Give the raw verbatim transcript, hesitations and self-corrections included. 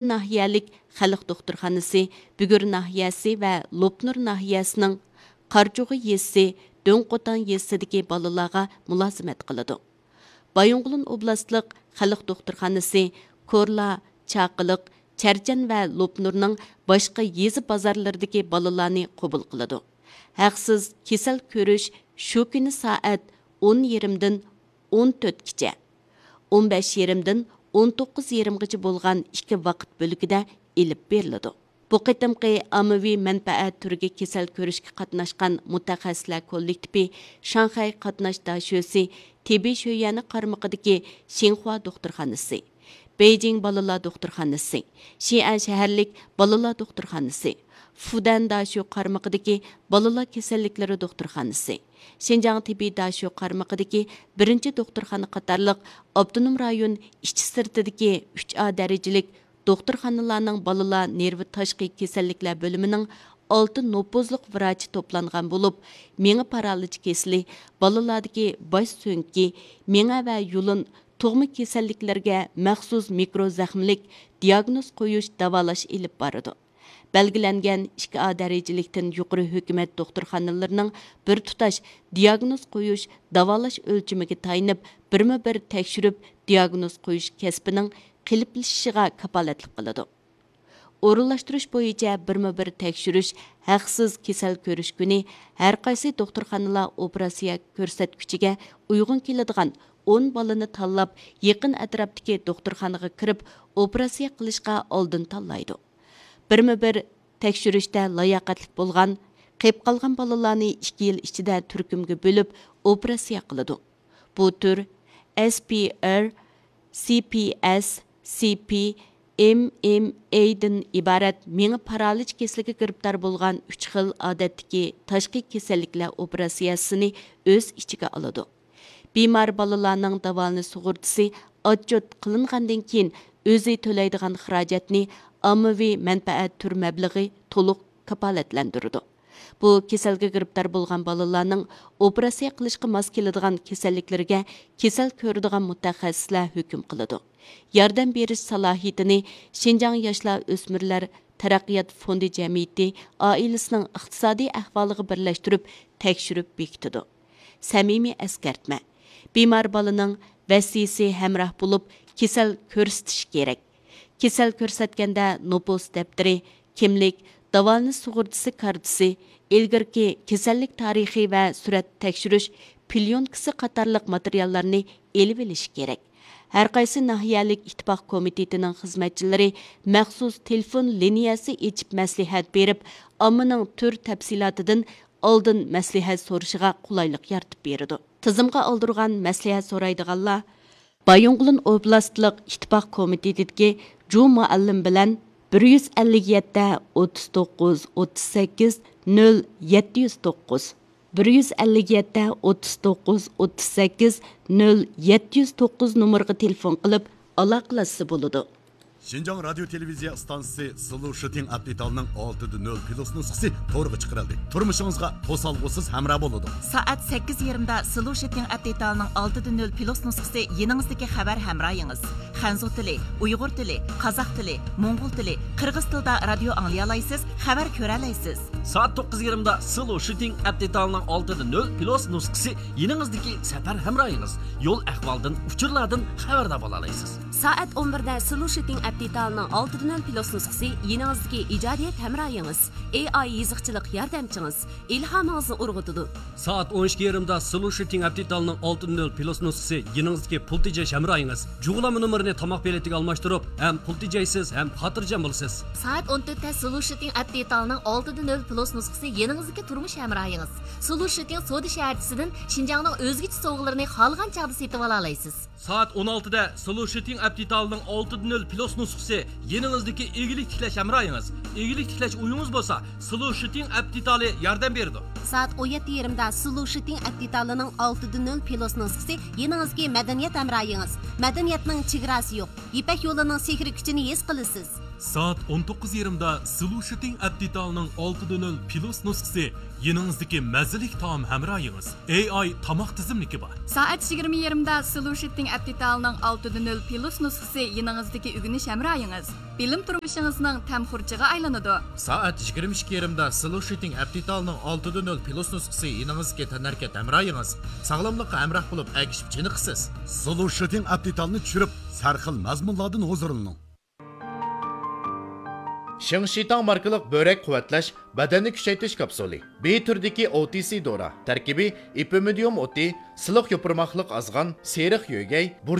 ناھىيەلىك خەلق دوختۇرخانىسى، بۈگۈر ناھىيەسى ۋە لوپنۇر ناھىيەسىنىڭ قارچۇغا يېزىسى، دۆڭقوتان يېزىسىدىكى بالىلارغا مۇلازىمەت قىلىدۇ. بايىنغولىن ئوبلاستلىق خەلق دوختۇرخانىسى كورلا، چاقىلىق، چەرچەن ۋە لوپنۇرنىڭ باشقا يېزا بازارلىرىدىكى بالىلارنى قوبۇل قىلىدۇ. ھەقسىز كېسەل كۆرۈش شۇ كۈنى سائەت ئون يېرىمدىن ئون تۆتكىچە، ئون بەش يېرىمدىن ئون توققۇز يېرىمغىچە بولغان ئىككى ۋاقىت بۆلىكىدە ئېلىپ بېرىلىدۇ. بۇ قېتىمقى ئاممىۋى مەنپەئەت تۈرىگە كېسەل كۆرۈشكە قاتناشقان مۇتەخەسسىسلەر كوللېكتىپى شاڭخەي قاتناش داشۆسى تېببىي شۆيۈەنى قارمىقىدىكى شىنخۇا دوختۇرخانىسى، بېيجىڭ بالىلار دوختۇرخانىسى، شىئەن شەھەرلىك بالىلار دوختۇرخانىسى، فۇدەن داشۆ قارمىقىدىكى بالىلار كېسەللىكلىرى دوختۇرخانىسى، شىنجاڭ تېببىي داشۆ قارمىقىدىكى بىرىنچى دوختۇرخانا قاتارلىق ئاپتونوم رايون ئىچى سىرتىدىكى ئۈچ ئا دەرىجىلىك دوختۇرخانىلارنىڭ بالىلار نېرۋا تاشقى كېسەللىكلەر بۆلۈمىنىڭ ئالتە نوپۇزلۇق ۋراچى توپلانغان بولۇپ، مېڭە پارالىچ كېسىلى، بالىلاردىكى باش سۆڭىكى، مېڭە ۋە يۇلۇن، تۇغما كېسەللىكلىرىگە مەخسۇس مىكرو زەخىملىك دىياگنوز قويۇش، داۋالاش ئېلىپ بارىدۇ. بەلگىلەنگەن ئىككى ئا دەرىجىلىكتىن يۇقىرى ھۆكۈمەت دوختۇرخانىلىرىنىڭ بىر تۇتاش دىياگنوز قويۇش، داۋالاش ئۆلچىمىگە تايىنىپ، بىرمۇ بىر تەكشۈرۈپ دىياگنوز قويۇش كەسپىنىڭ قېلىپلىشىشىغا كاپالەتلىك قىلىدۇ. ئورۇنلاشتۇرۇش بويىچە بىرمۇ بىر تەكشۈرۈش ھەقسىز كېسەل كۆرۈش كۈنى ھەرقايسى دوختۇرخانىلار ئوپېراتسىيە كۆرسەتكۈچىگە ئۇيغۇن كېلىدىغان ئون بالىنى تاللاپ، يېقىن ئەتراپتىكى دوختۇرخانىغا كىرىپ ئوپېراتسىيە قىلىشقا ئالدىن تاللايدۇ. بىرمۇ بىر تەكشۈرۈشتە لاياقەتلىك بولغان، قېلىپ قالغان بالىلارنى ئىككى يىل ئىچىدە تۈركۈمگە بۆلۈپ ئوپېراتسىيە قىلىدۇ. بۇ تۈر ئېس پى ئېر، سى پى ئېس، سى پى، ئېم ئېم ئېي دىن ئىبارەت مېڭە پارالىچ كېسىلىگە گىرىپتار بولغان ئۈچ خىل ئادەتتىكى تاشقى كېسەللىكلەر ئوپېراتسىيەسىنى ئۆز ئىچىگە ئالىدۇ. بىمار بالىلارنىڭ داۋالىنىش سۇغۇرتىسى ئاتچوت قىلىنغاندىن كېيىن، ئۆزى تۆلەيدىغان خىراجەتنى ئاممىۋى مەنپەئەت تۈر مەبلىغى تولۇق كاپالەتلەندۈرىدۇ. بۇ كېسەلگە گىرىپتار بولغان بالىلارنىڭ ئوپېراتسىيە قىلىشقا ماس كېلىدىغان كېسەللىكلىرىگە كېسەل كۆرىدىغان مۇتەخەسسىسلەر ھۆكۈم قىلىدۇ. ياردەم بېرىش سالاھىيىتىنى شىنجاڭ ياشلار ئۆسمۈرلەر تەرەققىيات فوندى جەمئىيىتى ئائىلىسىنىڭ ئىقتىسادىي ئەھۋالىغا بىرلەشتۈرۈپ تەكشۈرۈپ بېكىتىدۇ. سەمىمىي ئەسكەرتمە. بىمار بالىنىڭ ۋەسىيسى ھەمراھ بولۇپ، كېسەل كۆرسىتىشى كېرەك. كېسەل كۆرسەتكەندە نوپۇس دەپتىرى، كىملىك، داۋالىنىش سۇغۇرتىسى كارتىسى، ئىلگىرىكى كېسەللىك تارىخى ۋە سۈرەت تەكشۈرۈش پليونكىسى قاتارلىق ماتېرىياللارنى ئېلىۋېلىشى كېرەك. ھەرقايسى ناھىيەلىك ئىتتىپاق كومىتېتىنىڭ خىزمەتچىلىرى مەخسۇس تېلېفون لىنىيەسى ئېچىپ مەسلىھەت بېرىپ، ئاممىنىڭ تۈر تەپسىلاتىدىن ئالدىن مەسلىھەت سورىشىغا قولايلىق يارىتىپ بېرىدۇ. تىزىمغا ئالدۇرغان مەسلىھەت سورايدىغانلار بايىنغولىن ئوبلاستلىق ئىتتىپاق كومىتېتىدىكى جۇ مۇئەللىم بىلەن بىر يۈز ئەللىك يەتتە، ئوتتۇز توققۇز، ئوتتۇز سەككىز، نۆل يەتتە يۈز توققۇز، بىر يۈز ئەللىك يەتتە، ئوتتۇز توققۇز، ئوتتۇز سەككىز، نۆل يەتتە يۈز توققۇز نومۇرىغا تېلېفون قىلىپ ئالاقىلەشسە بولىدۇ. شىنجاڭ رادىيو تېلېۋىزىيە ئىستانسىسى سلو شىتىڭ ئەپ دېتالىنىڭ ئالتىدە نۆل پلۇس نۇسخىسى تورغا چىقىرىلدى. تۇرمۇشىڭىزغا توسالغۇسىز ھەمراھ بولىدۇ. سائەت سەككىز يېرىمدا سلو شىتىڭ ئەپ دېتالىنىڭ ئالتىدە نۆل پلۇس نۇسخىسى يېنىڭىزدىكى خەۋەر ھەمراھىڭىز. خەنزۇ تىلى، ئۇيغۇر تىلى، قازاق تىلى، موڭغۇل تىلى، قىرغىز تىلىدا رادىيو ئاڭلىيالايسىز، خەۋەر كۆرەلەيسىز. سائەت توققۇز يېرىمدا سلو شىتىڭ ئەپ دېتالىنىڭ ئالتىدە نۆل پلۇس نۇسخىسى يېنىڭىزدىكى سەپەر ھەمراھىڭىز. يول ئەھۋالدىن، ئۇچۇرلاردىن خەۋەردار بولالايسىز. سائەت ئون بىردە سلو شىتىڭ ئەپ دېتالىنىڭ ئالتىدە نۆل پلۇس نۇسخىسى يېنىڭىزدىكى ئىجادىيەت ھەمراھىڭىز، ئېي ئاي يېزىقچىلىق ياردەمچىڭىز، ئىلھامىڭىزنى ئۇرغۇتىدۇ. سائەت ئون ئىككى يېرىمدا سلو شىتىڭ ئەپ دېتالىنىڭ ئالتىدە نۆل پلۇس نۇسخىسى يېنىڭىزدىكى پۇل تېجەش ھەمراھىڭىز. جۇغلانما نومۇرىنى تاماق پېلىتىگە ئالماشتۇرۇپ، ھەم پۇل تېجەيسىز، ھەم خاتىرجەم بولىسىز. سائەت ئون تۆتتە سلۇ شىتىڭ ئەپ دېتالىنىڭ ئالتىدە نۆل پلۇس نۇسخىسى يېنىڭىزدىكى تۇرمۇش ھەمراھىڭىز. سلۇ شىتىڭ سودا شەھەرچىسىدىن شىنجاڭنىڭ ئۆزگىچە سوۋغىلىرىنى خالىغان چاغدا سېتىۋالالايسىز. سائەت ئون ئالتىدە سلۇ شىتىڭ ئەپ دېتالىنىڭ ئالتىدە نۆل پلۇس نۇسخىسى يېنىڭىزدىكى ئىگىلىك تىكلەش ھەمراھىڭىز. ئىگىلىك تىكلەش ئويىڭىز بولسا، سلۇ شىتىڭ ئەپ دېتالى ياردەم بېرىدۇ. سائەت ئون يەتتە يېرىمدا سلۇ شىتىڭ ئەپ دېتالىنىڭ ئالتىدە نۆل پلۇس نۇسخىسى يېنىڭىزدىكى مەدەنىيەت ھەمراھىڭىز. مەدەنىيەتنىڭ چېگراسى يوق. يىپەك يولىنىڭ سېھرىي كۈچىنى ھېس قىلىسىز. سائەت ئون توققۇز يېرىمدا سلۇشىتىڭ ئەپ دېتالىنىڭ ئالتە دە نۆل پلۇس نۇسخىسى يېنىڭىزدىكى مەززىلىك تائام ھەمراھىڭىز. ئېي ئاي تاماق تىزىملىكى بار. سائەت يىگىرمە يېرىمدا سلۇشىتىڭ ئەپ دېتالىنىڭ ئالتە دە نۆل پلۇس نۇسخىسى يېنىڭىزدىكى ئۆگىنىش ھەمراھىڭىز. بىلىم تۇرمۇشىڭىزنىڭ تەم خۇرجىنىغا ئايلىنىدۇ. سائەت يىگىرمە ئىككى يېرىمدا سلۇشىتىڭ ئەپ دېتالىنىڭ ئالتە دە نۆل پلۇس نۇسخىسى يېنىڭىزدىكى تەنھەرىكەت ھەمراھىڭىز. ساغلاملىققا ھەمراھ بولۇپ، ئەگىشىپ چېنىقىسىز. سلۇشىتىڭ ئەپ دېتالىنى چۈشۈرۈپ، سەرخىل مەزمۇنلاردىن ھۇزۇرلىنىڭ. شېڭشىتاڭ ماركىلىق بۆرەك قۇۋۋەتلەش، بەدەننى كۈچەيتىش كاپسۇلى. بى تۈرىدىكى ئو تى سى دورا. تەركىبى ئېپىمىدىيۇم ئوتى، سىلىق يوپۇرماقلىق ئازغان، سېرىق يۆگەي، بۇر